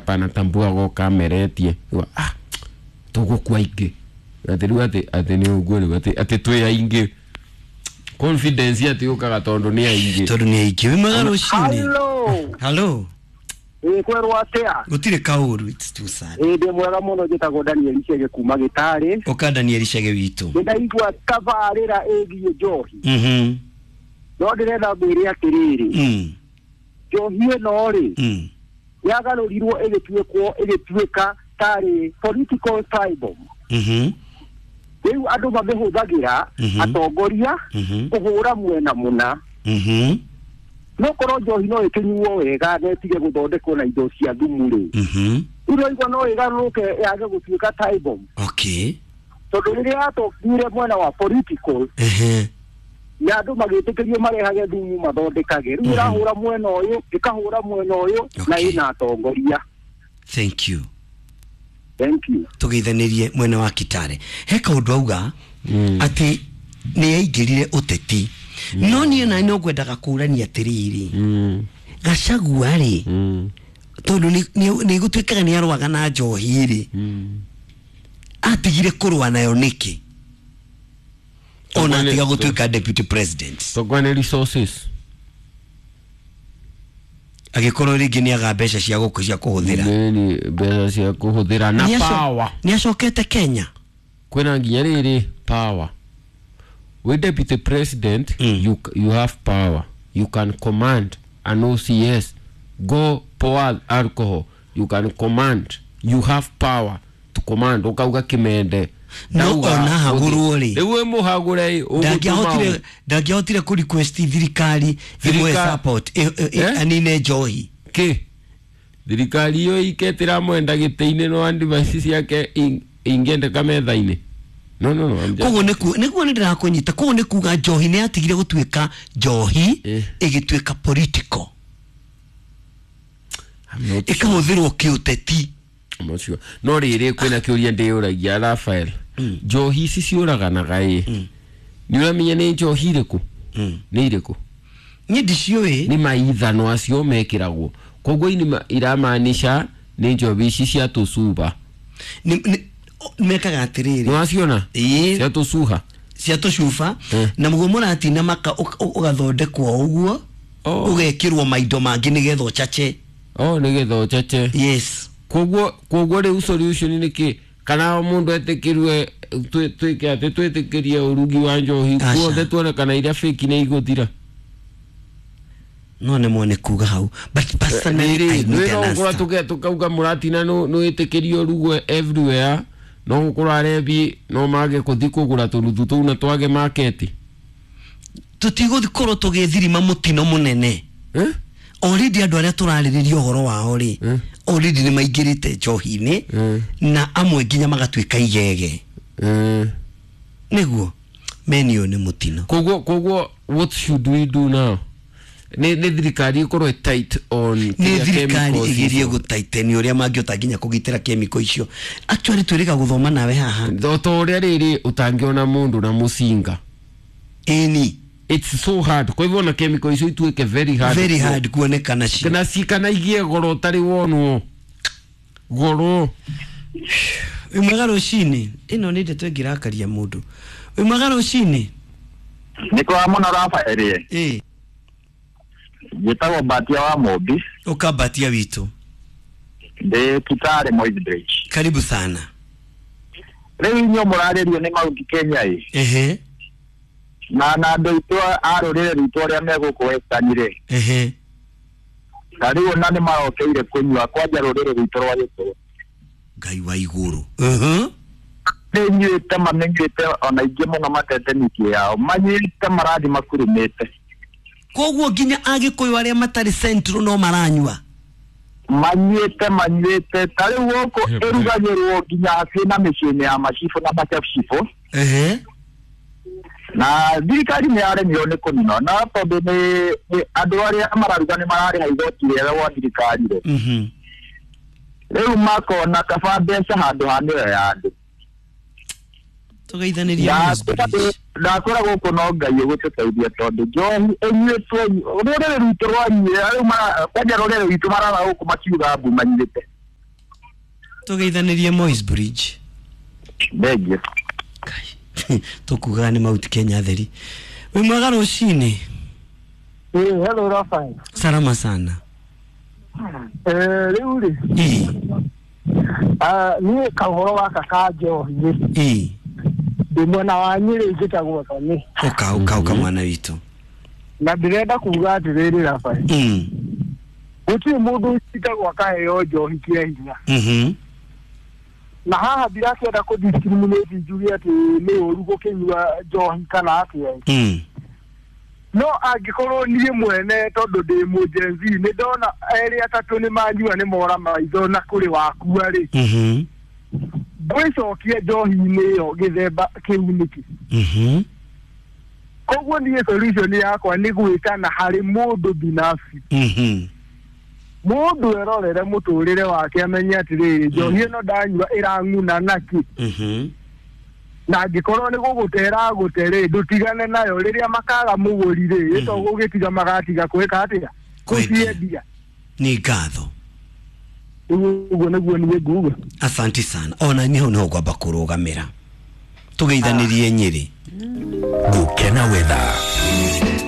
Hapa anatambua goka ameretie. Ah, tũgũkua aingĩ atĩ rĩu atĩ nĩ ũguo rĩu atĩ twĩ aingĩ confidence atĩ yũkaga tondũ nĩ aingĩ. Tondũ nĩ aingĩ. Wĩ mwega rũcinĩ. Hello. Hello. Ĩ kwerwo atĩa? Gũtirĩ kaũru, it's too sad. Ĩ ndĩ mwega mũno, njĩtagwo Daniel Chege kuma Gĩtarĩ. Ũka Daniel Chege witũ. Nĩ ndaigua tabarĩra ĩgiĩ njohi. No ndĩrenda ngwĩre atĩrĩrĩ. Njohi ĩno rĩ, yagarũrirwo ĩgĩtuĩkwo ĩgĩtuĩka tarĩ political tribal. Rĩu andũ mamĩhũthagĩra atongoria kũhũra mwena mũna. No korwo njohi no ĩkĩnyuo wega na ĩtige gũthondekwo na indo cia thumu rĩ, rĩu naigua no ĩgarũrũke yage gũtuĩka tribal. Okay. Tondũ rĩrĩa yatongire mwena wa political, na andũ magĩtĩkĩrio marehage thumu mathondekage, rĩu ĩrahũra mwena ũyũ ĩkahũra mwena ũyũ na ĩna atongoria. Thank you. Thank you. Tũgeithanirie mwena wa Kitale. He kaũndũ auga atĩ nĩ yaingĩrire ũteti, no niĩ na no ngwendaga kũrania atĩrĩrĩ, Gachagua rĩ, tondũ nĩ gũtuĩkaga nĩ arũaga na njohi rĩ, atigire kũrũa nayo nĩkĩ ona atiga gũtuĩka deputy president? Tokwa nĩ resources. Agĩkorwo rĩngĩ nĩ aga mbeca cia gũkũ cia kũhũthĩra. Nĩ mbeca cia kũhũthĩra na power. Nĩ acokete Kenya. Kwĩna nginya rĩrĩ power. We deputy president, you have power. You can command an OCS go pour alcohol. You can command. You have power to command. Ukauga kimende. No ona hagũrwo rĩ, rĩu wĩ mũhagũre ndangĩahotire ndangĩahotire kũ request thirikari ĩmwe support anine njohi. Kĩ thirikari iyo iketĩra mwenda gĩtĩ-inĩ no device ciake ingĩendeka metha-inĩ. No no no. Koguo nĩguo nĩ ndĩrakũnyita. Koguo nĩ kuga njohi nĩ yatigire gũtuĩka njohi ĩgĩtuĩka political, ĩkahũthĩrwo kĩũteti. I'm not sure. No rĩrĩ kwĩna kĩũria ndĩyũragia Rafael, njohi ici ciũraganaga ĩ, nĩ ũramenya nĩ njohi irĩkũ? Nĩ irĩkũ? Niĩ ndiciũĩ. Nĩ maithano acio mekĩragwo, koguo ini iramaanisha nĩ njohi ici cia tũcuba. Mekaga atĩrĩrĩ. Nĩ waciona? Cia tũcuha. Cia tũcuba na mũguo mũratina maka ũgathondekwo ũguo, ũgekĩrwo maindo mangĩ nĩgetha ũcace. Oh, nĩgetha ũcace. Yes. Koguo rĩu solution nĩ kĩ? Kana mũndũ etĩkĩrwe twĩke atĩ twĩtĩkĩrie ũrugi wa njohi guothe tuone kana iria fake nĩ igũthira? No nĩ mwone kuga hau, but personally I need an answer. Tukauga mũratina nĩ wĩtĩkĩrie ũrugwe everywhere, no gũkorwo arebi no mage kũthi kũgũra tũruthu tũu na twage market. Tũtigũkorwo tũgĩthirima mũtino mũnene. Already andũ arĩa tũrarĩrĩria ũhoro wao rĩ, already nĩ maingĩrĩte njohi-inĩ na amwe nginya magatuĩka igege. Nĩguo meni ũyũ nĩ mũtino. Koguo what should we do now? Nĩ thirikari ĩkorwo tight on nĩ thirikari ĩgerie gũtaiteni ũrĩa mangĩhota nginya kũgitĩra chemical icio. Actually twĩrĩga gũthoma nawe haha to ũrĩa rĩrĩ ũtangĩona mũndũ na mũcinga. Ĩni. It's so hard. Kwa hivyo na chemical icio ituĩke very hard. Very hard kuonekana cio. Kana ci kana igie goro ũtarĩ wonwo. Goro. Wĩ mwega rũcinĩ. Ĩno nĩ ndeto ĩngĩrakaria mũndũ. Wĩ mwega rũcinĩ. Nĩ kwa mũno Rafael. Ĩ. Njĩtagwo Mbatia wa Mũmbi. Ũka Mbatia witũ. Ndĩ Kitale Moi Bridge. Karibu sana. Rĩu inyuĩ mũrarĩrio nĩ Mount Kenya ĩ. Ehe. Na andũ aitũ a rũrĩrĩ rwitũ arĩa me gũkũ Western rĩ. Ehe. Na rĩu ona nĩ marokeire kũnyua kwanja rũrĩrĩ rwitũ rwa Gĩkũyũ. Ngai wa igũrũ. Nĩ nyuĩte mamenyuĩte ona ingĩ mũno matete mĩciĩ yao. Manyuĩte marathi makurumĩte. Koguo nginya Agĩkũyũ arĩa matarĩ central no maranyua. Manyuĩte ta rĩu gũkũ ĩrugagĩrwo nginya hakuhĩ na mĩciĩ-inĩ ya macibũ na macibũ. Ehe. Na thirikari nĩ yaremirwo nĩ kũnina na tondũ nĩ andũ arĩa mararuga nĩ mararĩha igoti rĩega gwa thirikari rĩ. Rĩu makona kaba mbeca handũ ha mĩoyo ya andũ. Tũgeithanĩria. Ndakora gũkũ no Ngai ũgũtũteithia tondũ njohi ĩnyuĩtwo rũrĩrĩ rwitũ rwanyuire rĩu kwanja rũrĩrĩ rwitũ marara gũkũ makiuga mbu manyuĩte. Tũgeithanirie Moi's Bridge. Thengiũ. Tũkugaga nĩ Mount Kenya theri. Wĩ mwega rũcinĩ? Hello Rafael. Salama sana. Rĩu rĩ, niĩ kaũhoro gaka ka njohi rĩ, ndĩ mwena wa Nyĩrĩ njĩtagwo Thoni. Ũka ũka ũka mwana witũ. Na ndĩrenda kuga atĩrĩrĩ Rafael, gũtirĩ mũndũ ũcitagwo akaheo njohi kĩa hinya. Na haha ndirakĩenda kũ discriminate njuge atĩ nĩ ũru gũkĩnyua njohi kana atĩa. No angĩkorwo niĩ mwene tondũ ndĩ mũ-Gen Z nĩ ndona erĩ atatũ nĩ manyua nĩ mora maitho na kũrĩ wakua rĩ, ngwĩcokia njohi-inĩ ĩyo gĩthemba kĩu nĩkĩ? Koguo niĩ solution yakwa nĩ gwĩtana harĩ mũndũ binafsi. Mũndũ erorere mũtũrĩre wake amenye atĩrĩrĩ, njohi ĩno ndanyua ĩrang'una nakĩ? Na angĩkorwo nĩ gũgũtera gũte rĩ, ndũtigane nayo rĩrĩa makaga mũgũri rĩ, ĩto gũgĩtiga magatiga kwĩka atĩa? Kũciendia. Nĩ ngatho. Ũguo nĩguo niĩ nguga. Asanti sana. Ona niĩ hau nĩho ngwamba kũrũgamĩra. Tũgeithanirie Nyĩrĩ. Gukena weather.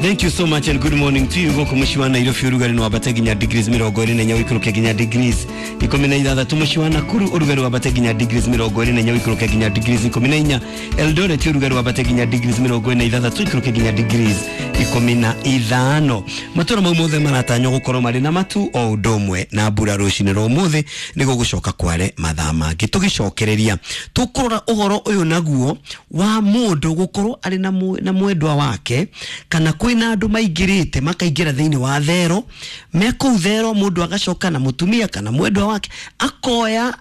Thank you so much and good morning to you. Gũkũ mũciĩ wa Nairobi ũrugarĩ nĩ wambate nginya degrees 24 ũikũrũke nginya degrees 16. Mũciĩ wa Nakuru ũrugarĩ wambate nginya degrees 24 ũikũrũke nginya degrees 14. Eldoret ũrugarĩ wambate nginya degrees 46 ũikũrũke nginya degrees 15. Matũra mau mothe maratanywo gũkorwo marĩ na matu o ũndũ ũmwe na mbura rũcinĩ rwa ũmũthĩ nĩguo gũcoka kware mathaa mangĩ. Tũgĩcokereria tũkũrora ũhoro ũyũ naguo wa mũndũ gũkorwo arĩ na mwendwa wake kana kwĩna andũ maingĩrĩte makaingĩra thĩinĩ wa thero me kũu thero mũndũ agacoka na mũtumia kana mwendwa wake akoya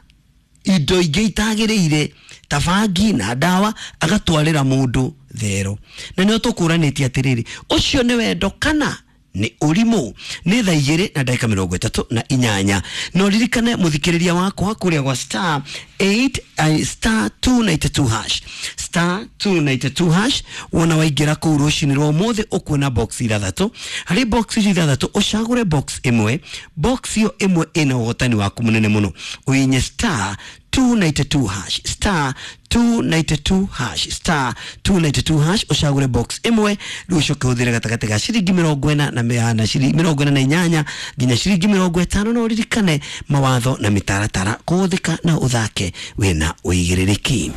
indo ingĩ itagĩrĩire ta bangi na ndawa agatwarĩra mũndũ thero. Na nĩo tũkũranĩtie atĩrĩrĩ, ũcio nĩ wendo kana nĩ ũrimũ? Nĩ thaa 2 na ndagĩka 38. No ririkane mũthikĩrĩria wakwa kũrĩa gwa star 8 star 292 hash star 292 hash wona waingĩra kũu rũcinĩ rwa ũmũthĩ ũkuona box ithathatũ. Harĩ box icio ithathatũ ũcagũre box ĩmwe. Box ĩyo ĩmwe ĩna ũhotani waku mũnene mũno. Ũinye star 292 hash star 292 hash star 292 hash ũcagũre box ĩmwe rĩu ũcoke ũhũthĩre gatagatĩ ga ciringi 48 na ciringi 48 nginya ciringi 50. No ũririkane mawatho na mĩtaratara kũhũthĩka na ũthake wĩna ũigĩrĩrĩki.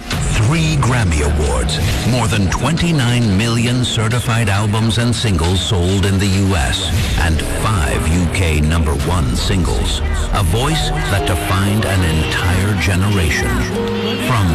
3 Grammy Awards, more than 29 million certified albums and singles sold in the US, and 5 UK #1 singles. A voice that defined an entire generation. From